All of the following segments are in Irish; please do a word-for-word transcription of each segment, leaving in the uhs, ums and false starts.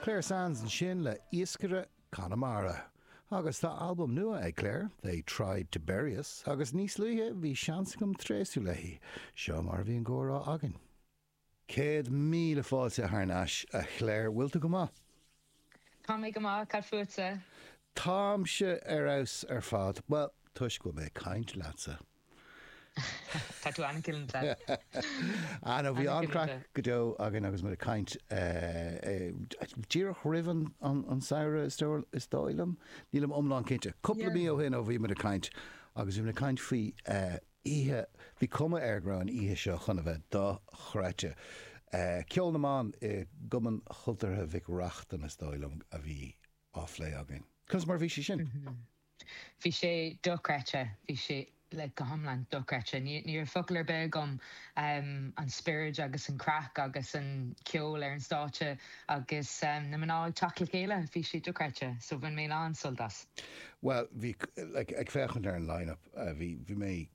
Clare Sands ansin le Iascaire Conamara. Agus tá albam nua ag Clare, They Tried to Bury Us, agus níos luaithe bhí seans agam tréaslú léi, seo mar a bhí an comhrá againn. Céad míle fáilte thar n-ais a Clare, bhfuil tú go maith? Tá mé go maith cad fútsa. Táimse ar fheabhas ar fad, well, toisc go bhfuil mé ag caint leatsa. Tá tú an-chineálta. Anna bhí an-chraic go deo againn agus muid ag caint díreach roimh an samhradh is dóigh liom. Nílim iomlán cinnte. Cúpla mí ó shin ó bhí muid ag caint agus bhí muid ag caint faoi oíche, bhí cuma air go raibh an oíche seo chun a bheith dochreidte. Ceol na mBan i gCumann Chultúrtha Mhic Reachtain is dóigh liom a bhí á phlé againn. Conas mar bhí sé sin? Bhí sé dochreidte, bhí sé like go hiomlán dochreidte. Ní ní raibh focal ar bith agam um, an spiorad agus an craic agus an ceol ar an stáitse agus um, na mná ag teacht le chéile bhí sé dochreidte, so bhain mé an-sult as. Well, bhí like, ag féachaint ar an line-up uh, bhí bhí mé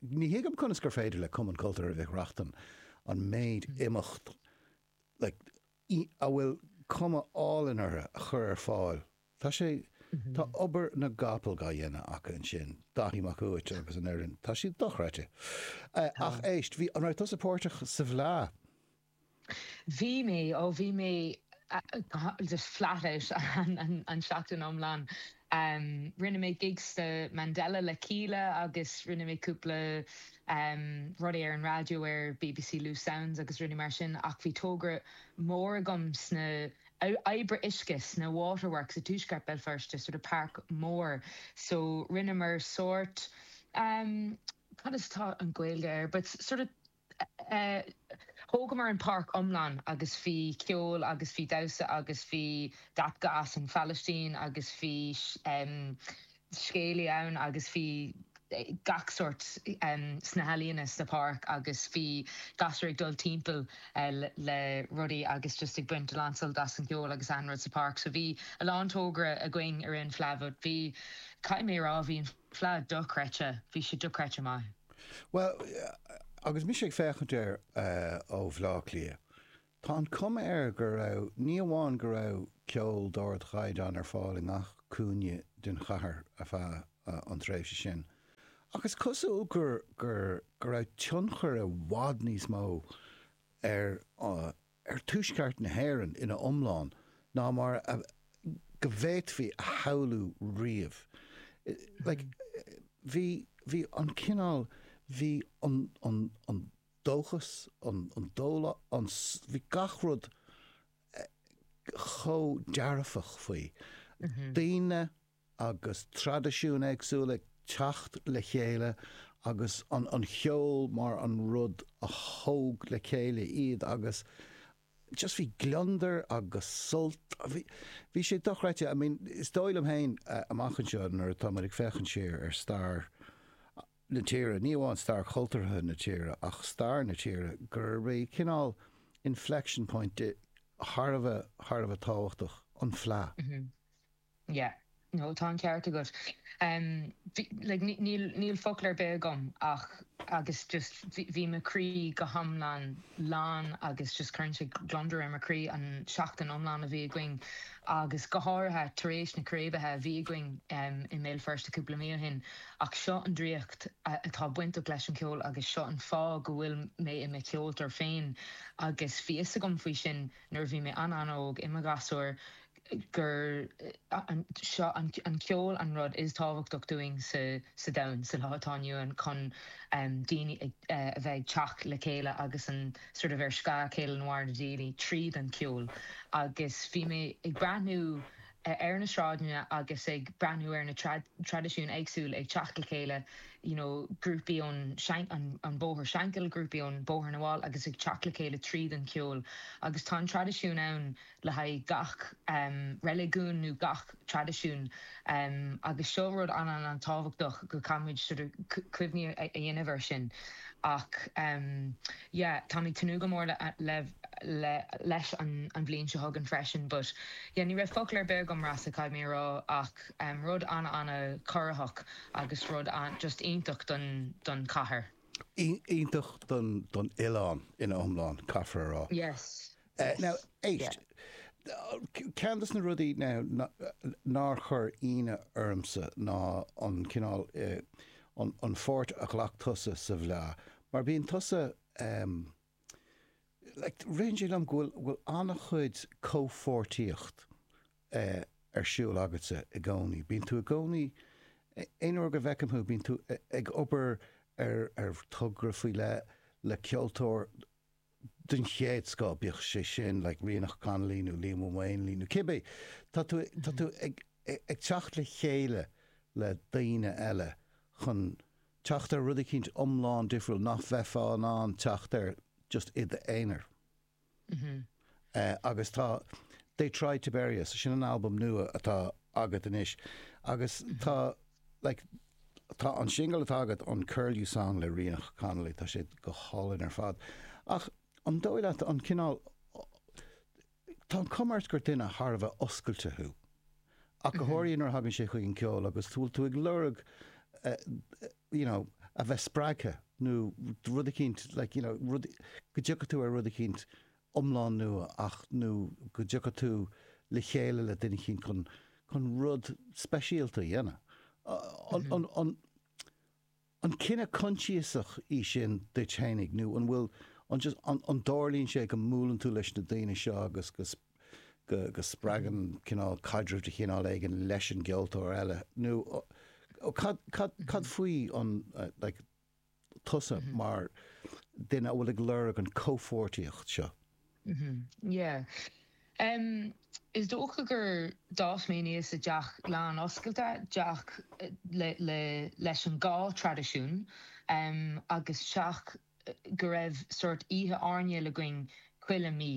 ní thuigim conas gur féidir le Cumann Cultúrtha Mhic Reachtain an méid imeacht like, a bhfuil cuma álainn orthu a chur ar fáil. Tá sé Tá obair na gcapall á dhéanamh acu ansin, Daithí Mac Uait agus an fhoireann, Tá siad dochreidte. Ach éist, bhí an raibh tusa páirteach sa bhFleadh? Bhí mé ó bhí mé just flat out an, an seachtain iomlán. Um, rinne mé gigs sa Mandela le Kíla agus rinne mé cúpla um, rudaí ar an raidió ar BBC Loose Sounds agus rinne mar sin ach bhí togra mór agam sna oibreacha uisce sna Waterworks i dtuaisceart Béal Feirste sort of park mór so rinneamar sort um, cad is tá an Ghaeilge air, but sort of uh, thógamar an páirc iomlán agus bhí ceol agus bhí damhsa agus bhí dabka as an Phalaistín agus bhí um, scéalaí ann agus bhí gach sort um, sna healaíona sa pháirc agus bhí gasúir ag dul timpeall uh, le, le rudaí agus just ag baint an-sult as an gceol agus an rud sa pháirc, so bhí a lán togra againn ar an Fleadh, bhí caithfidh mé rá bhí an Fleadh dochreidte, bhí sé dochreidte maith. Well, agus mise ag féachaint air uh, ó Bhleá Cliath. Tá an cuma air go raibh ní amháin go raibh ceol d'ardchaighdeán ar fáil i ngach cúinne den chathair ar feadh uh, an tréimhse sin. Agus cosúil gur gur go raibh tionchar i bhfad níos mó ar uh, ar tuaisceart na hÉireann ina iomlán ná mar a, go bhféadfaí a shamhlú riamh. Like, bhí bhí an cineál bhí an, an, an dóchas an, an dóla an bhí gach rud chomh dearfach faoi. Mm -hmm. Daoine agus traidisiúin éagsúla teacht le chéile agus an, an ceol mar an rud a thóg le chéile iad agus just bhí gliondar agus sult bhí bhí sé dochreidte I mean is dóigh liom féin uh, amach anseo nuair atá muid ag féachaint siar ar stair na tíre, ní amháin stair chultúrtha na tíre ach stair na tíre gur bhí cineál inflection point thar a bheith thar a bheith tábhachtach an Fleadh. Mm -hmm. Yeah. No tá an ceart agat. Um, like, níl níl focal ar bith agam ach agus just bhí mo chroí go hiomlán lán agus just chuir sé gliondar ar mo chroí an seachtain iomlán a bhí againn agus go háirithe tar éis na círéibeacha a bhí againn um, i mBéal Feirste cúpla mí ó shin ach seo an draíocht atá bainteach leis an ceol agus seo an fáth go bhfuil mé i mo cheoltóir féin agus bhí fhios agam faoi sin nuair bhí mé an-an-óg i mo ghasúr gur seo an, an ceol an rud is tábhachtach dúinn sa, sa domhan sa lá atá inniu ann chun um, daoine uh, a bheith ag teacht le chéile agus an sort of ar scáth chéile nó na daoine tríd an ceol agus bhí mé ag breathnú ar na sráideanna agus ag breathnú ar na traidisiúin éagsúil ag teacht le chéile you know, grúpaí ón an, an bóthar Shankill grúpaí ón Bóthar na bhFál agus ag teacht le chéile tríd an ceol agus tá an traidisiún ann le haghaidh gach um, reiligiún nó gach traidisiún um, agus seo rud an an an tábhachtach go gcaithfimid sort of cuimhní a dhéanamh air sin ach um, yeah, tá mé tnúth go mór le, le, le, leis an, an bhliain seo chugainn freisin, but yeah, ní raibh focal ar bith agam rasa caithfidh mé rá ach um, rud an an-chorraitheach agus rud an, just iontach don, don chathair. Iontach don, don oileán ina iomlán caithfear a rá. Yes. Uh, yes. Now, éist, yeah. Ceann de na rudaí nár chuir ionadh ormsa ná an cineál an an pháirt a ghlac tusa sa Bhleá, mar bíonn tusa um, like, ritheann sé liom go bhfuil bhfuil an-chuid comhpháirtíocht uh, ar siúl agatsa i gcónaí. Bíonn tú i gcónaí aon uair go bhfeicim thú bíonn tú ag obair ar ar togra faoi le le ceoltóir den chéad scoth bíodh sé sin like Ríonach Connolly nó Liam Maonlaí nó cibé Tá tú tá tú ag ag teacht le chéile le daoine eile chun teacht ar rud éicint iomlán difriúil nach bheifeá in ann teacht air just i d'aonar. Mm -hmm. Uh, agus tá They Tried to Bury Us sin an album nua atá agat anois agus mm -hmm. tá like, tá an single atá agat an Curlew Song le Ríonach Connolly tá sé go hálainn ar fad. Ach an dóigh leat an cineál Tá an chuma ort gur duine thar a bheith oscailte thú. Ach go háirithe nuair a thagann sé chuig an ceol agus tú tú ag lorg uh, you know, a bheith spreagtha nó rud éicint like, you know, rud, go dtiocfaidh tú ar rud éicint iomlán nua ach nó go dtiocfaidh tú le chéile le duine éicint chun chun rud speisialta a dhéanamh. An, an, an, an cinneadh coinsiasach í sin duit féinig nó an bhfuil an, just, an, an dtarlaíonn sé go mbuaileann tú leis na daoine seo agus go, go, go spreagann cineál caidreamh de chineál éigin leis an gceoltóir eile nó ó, cad, cad, cad faoi an uh, like, tusa mm -hmm. mar duine a bhfuil ag lorg an comhpháirtíocht seo. Mm -hmm. Yeah. Um, is dócha gur d'fhás mé aníos i dteach lán oscailte teach le, le, leis an dhá traidisiún um, agus teach go raibh sort oíche airneáil againn chuile mí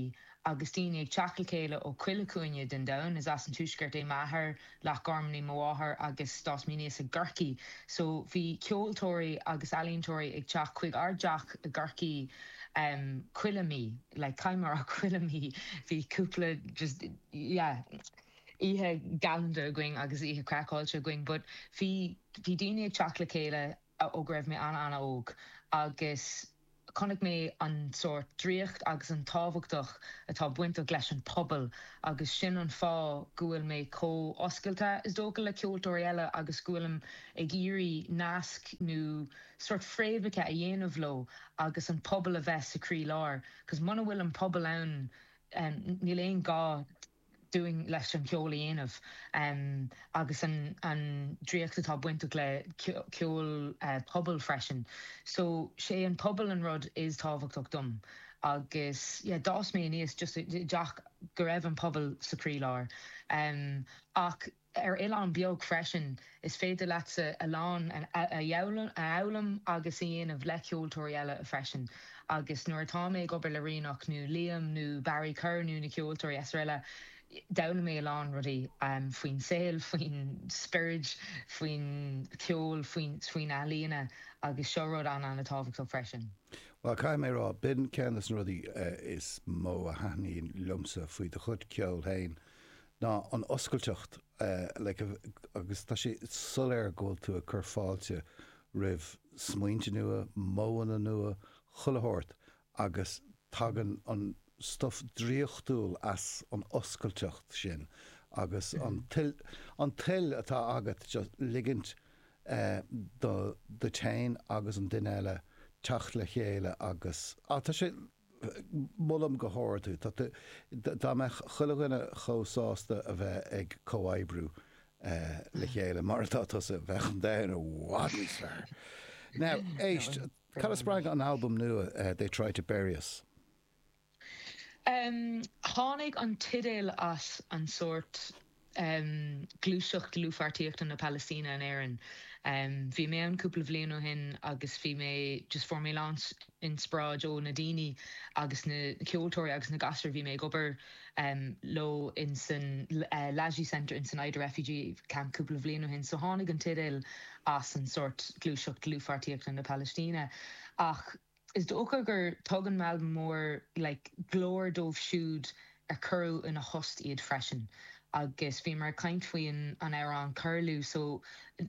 agus daoine ag teacht le chéile ó chuile chúinne den domhan is as an tuaisceart é m'athair Loch Garman mo mháthair agus d'fhás mé aníos i gCorcaigh. So bhí ceoltóirí agus ealaíontóirí ag teacht chuig ár dteach i gCorcaigh um, chuile mí, like caimar a chuile mí bhí cúpla just yeah, oíche galánta againn agus oíche craiceáilte againn, but bhí bhí daoine ag teacht le chéile ó go raibh mé an-an-óg agus chonaic mé an sort draíocht agus an tábhachtach atá bainteach leis an pobal agus sin an fáth go bhfuil mé chomh oscailte is dócha le ceoltóirí eile agus go bhfuilim ag iarraidh nasc nó sort fréamhacha a dhéanamh leo agus an pobal a bheith sa chroílár, cos muna bhfuil an pobal ann um, níl aon gá dúinn leis an ceol a dhéanamh um, agus an, an draíocht atá bainteach le ceol uh, pobal freisin. So sé an pobal an rud is tábhachtach dom. agus yeah, d'fhás mé aníos just teach go raibh an pobal sa chroílár. Um, ach ar oileán beag freisin is féidir leatsa a lán a fhoghlaim agus a dhéanamh le ceoltóirí eile freisin. agus nuair atá mé ag obair le Ríonach nó Liam nó Barry Kerr nó na ceoltóirí is eile d'fhoghlaim mé a lán rudaí um, faoin saol, faoin spiorad, faoin ceol, faoin faoin ealaíona agus seo rud an an-tábhachtach freisin. Well caithfidh mé rá b'in ceann de na rudaí uh, is mó a thaitníonn liomsa faoi do chuid ceoil féin ná an oscailteacht uh, like, agus tá sé soiléir go bhfuil tú ag cur fáilte roimh smaointe nua, modhanna nua, chuile shórt agus tagann an stuff draíochtúil as an oscailteacht sin agus an toil an toil atá agat just ligint uh, do do féin agus an duine eile teacht le chéile agus á tá sé molaim go hard tú Dá mbeadh chuile dhuine chomh sásta a bheith ag comhoibriú uh, le chéile mar atá tusa bheadh an domhan i bhfad níos fearr. Now éist cad a spreag an album nua uh, They Try to Bury Us. Um, tháinig an teideal as an sort um, gluaiseacht dlúthpháirtíochta na Palaistíne in Éirinn. Um, bhí mé ann cúpla bliain ó shin agus bhí mé just fuair mé inspioráid ó na daoine agus na ceoltóirí agus na gasúir bhí mé ag obair um, leo in san uh, Lajee Center in san Aida refugee camp cúpla bliain ó shin, so tháinig an teideal as an sort gluaiseacht dlúthpháirtíochta na Palaistíne. Ach is dócha gur tugann m'albam mór like, glór dóibh siúd ar cuireadh ina thost iad freisin. Agus bhíomar ag caint faoi an amhrán Curlew so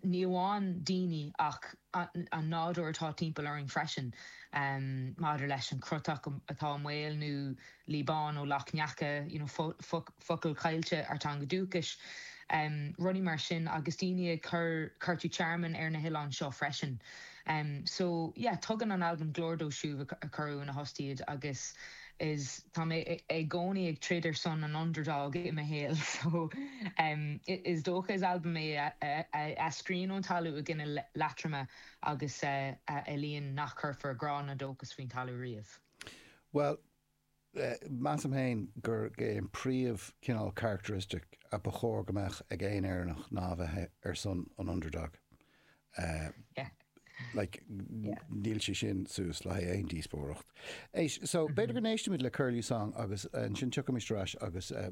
ní amháin daoine ach an nádúr atá timpeall orainn freisin um, maidir leis an crotach atá i mbaol nó liobán ó Loch Neacha you know, focal caillte ár dteanga dúchais. Um, rudaí mar sin agus daoine ag cur cuartú tearmainn ar na hoileáin seo freisin. Um, so yeah, tugann an album glór dóibh siúd a cuireadh ina thost iad agus is tá mé i gcónaí ag troid ar son an underdog i mo shaol so um, is dócha is album é a eascraíonn ón talamh i gCinneal Liatroma agus uh, a éilíonn nach gcuirfear grá ná dóchas faoin talamh riamh. Well, uh, measaim féin gur é an príomh cineál characteristic a ba chóir go mbeadh ag aon Éireannach ná bheith ar son an underdog. Uh, yeah. Like, níl sé sin suas le aon díospóireacht. Éis, so mm -hmm. b'fhéidir go n-éistimid le Curlew Song agus ansin tiocfaimid ar ais agus uh,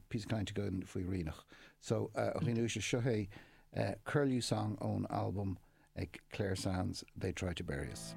píosa cainte againn faoi Ríonach. So uh, a dhaoine seo é uh, Curlew Song ón album ag Clare Sands, They Try to Bury Us.